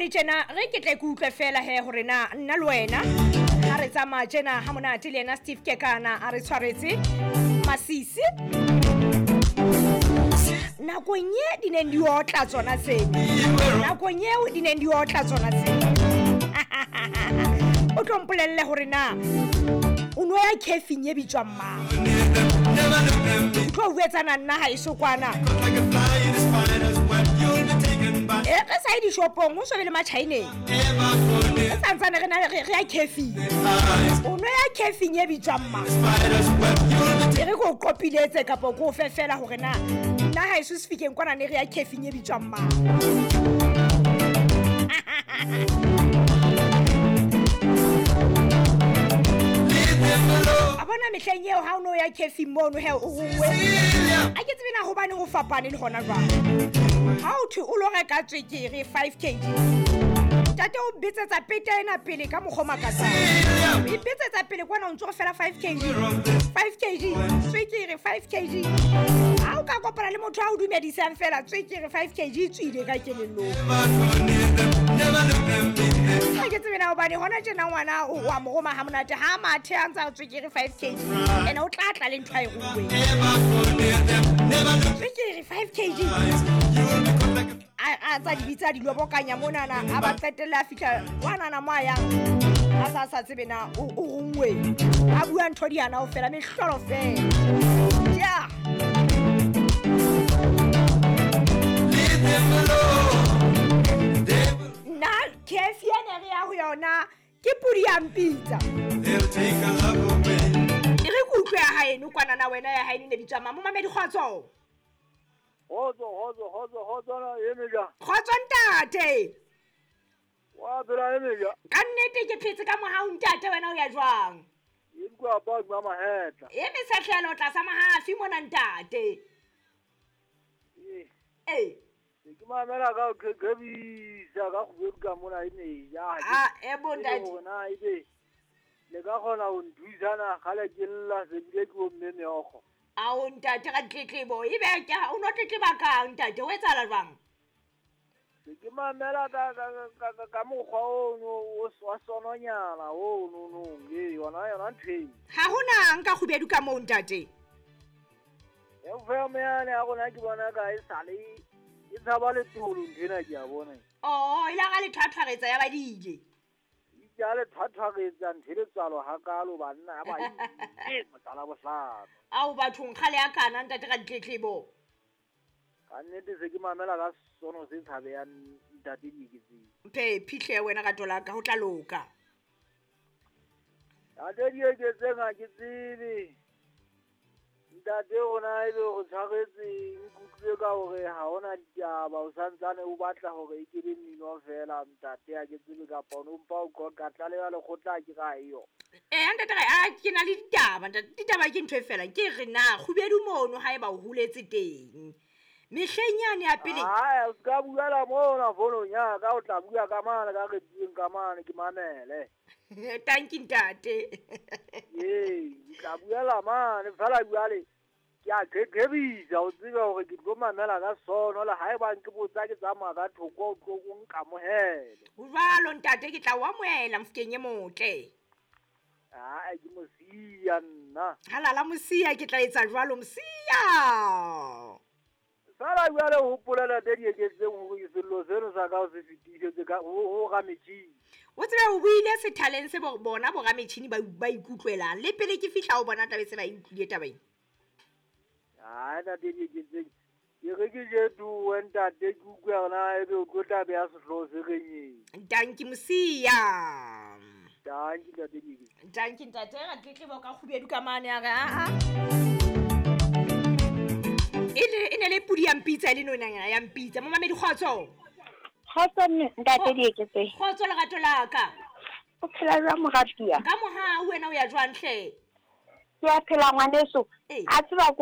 le tjena re ke tle ke utlwe fela he hore na nna le wena ha re tsamaya tjena ha monate le yena Steve Kekana a re tshwaretse masisi nakong ye di neng di otla tsona tseo, nakong eo di neng di otla tsona tseo. O tlo mpolelle hore na o no ya cafeng e bitswang mang, o tlo buetsana nna ha eso kwana. E re sa ye dishopong, ho so be le Machineng, re santsane re na re ya cafeng. O no ya cafeng e bitswang mang, e re ko qopiletse kapa ko fe fela hore na nna ha eso se fikeng kwana ne re ya cafeng e bitswang mang. A bona mehleng eo ha o no ya cafeng mono he o rongwe, a ke tsebe na hobane ho fapane le hona jwale. Ha o thwe o lo reka tswekere 5 kg, ntate o betsetsa pete ena pele ka mokgwa o makatsang. O ipetsetsa pele kwana o ntso re fela 5 kg, 5 kg tswekere, 5 kg. Ha o ka kopana le motho a o dumedisang fela tswekere 5 kg e tswile ka kelellong. Ha ke tsebe na hobane hona tjena ngwana o wa mo roma ha monate ha mathe a ntsa tswekere 5 kg, ene o tla tla le ntho a e ruweng tswekere 5 kg. A tsa di bitsa di lobokanya monana, a ba qetelle a fihla kwanana mo a yang a sa sa tsebe na o rongwe, a bua ntho di hana ho fela mehlolo fela. Ja nna cafe ene re ya ho yona ke pudi ya mpitsa. E re ke utlwe ya haeno kwanana wena ya haeno ne bitswa mang? Momamedi kgotso. Kgotso, kgotso, kgotso, kgotso na eme jwang? Kgotso ntate. Wa phela eme jwang? Ka nnete ke phetse ka mohau ntate, wena o ya jwang? E kwa ba ba mahetla. E mesehlelo tlasa mahafi mona ntate. Eh. Ke mamela ka qhebisa ka kgwebu ka mona e meja. Ah, e bo ntate. Bona ebe le ka kgona ho nthusana kgale ke lla se bile ke o mme meokgo. Ao ntate ka tletlebo, ebe ke o no tletleba kang ntate, o etsahala jwang? Ke mamela ka mokgwa ono wa sononyana ono no e yona yona ntho e. Ha hona nka kgubedu ka moo ntate. FM yane ya rona ke bona ka e sale e tshaba letolo ntho ena ke a bona. Oh, ile ga le thwathwaretsa ya ba dile. Ya le thwathwaretsa ntho le tswalo hakalo banna ba e motsala bohlano. Ao bathong kgale ya kana ntate ka ditletlebo. Ka nnete se ke mamela ka sono se tshabe ya ntate Dieketseng. Phe phihle wena ka tola ka ho tla loka. Ntate Dieketseng ha ke tsebe. Ntate rona ebe o tshwaretse nkutlwe ka hore ha hona ditaba, o santsane o batla hore e ke be mmino fela ntate ha ke tsebe kapa o mpa o qoqa tlaleha lekgotla ke ra eyo. Eh ntate a ke na le ditaba ntate, ditaba ke ntho e fela ke re na kgubedu mono ha eba o holetse teng. Mehleng yane ya pele. Ah, o ska buela mona fonong ya ka, o tla bua ka mane ka re bueng ka mane ke mamele. Thank you ntate. Ee, ke tla buela mane fela jwale ke a qeqebisa o tsebe hore ke tlo mamela ka sono le haeba nke botsa ke tsamaya ka thoko o tlo o nkamohele. Jwalo ntate ke tla o amohela mofokeng e motle. Ah, ke mosia nna. Halala mosia, ke tla etsa jwalo mosia. Fela jwale ho hopolela tse Dieketseng hore sello seno sa ka o se fetisetse ka ho rametjhini. O tsebe o buile sethaleng se bona bo rametjhini ba ikutlwelang le pele ke fihla ho bona taba se ba ikutlwile taba ena. Ah, ntate Dieketseng ke re ke jetuwe ntate ke utlwe hore na ebe o tlo tla beha sehlooho se reng eng. Danki mosia. Danki ntate Dieketseng. Danki ntate ra tletlebo ka kgubedu ka mane ya re a e ne le pudi ya mpitsa le nonyana ya mpitsa. Momamedi kgotso. Kgotso ntate Dieketseng. Kgotso lerato la ka. O phela jwang moratuwa? Ka mohau wena o ya jwang hle? Ke a phela ngwaneso. A tseba ko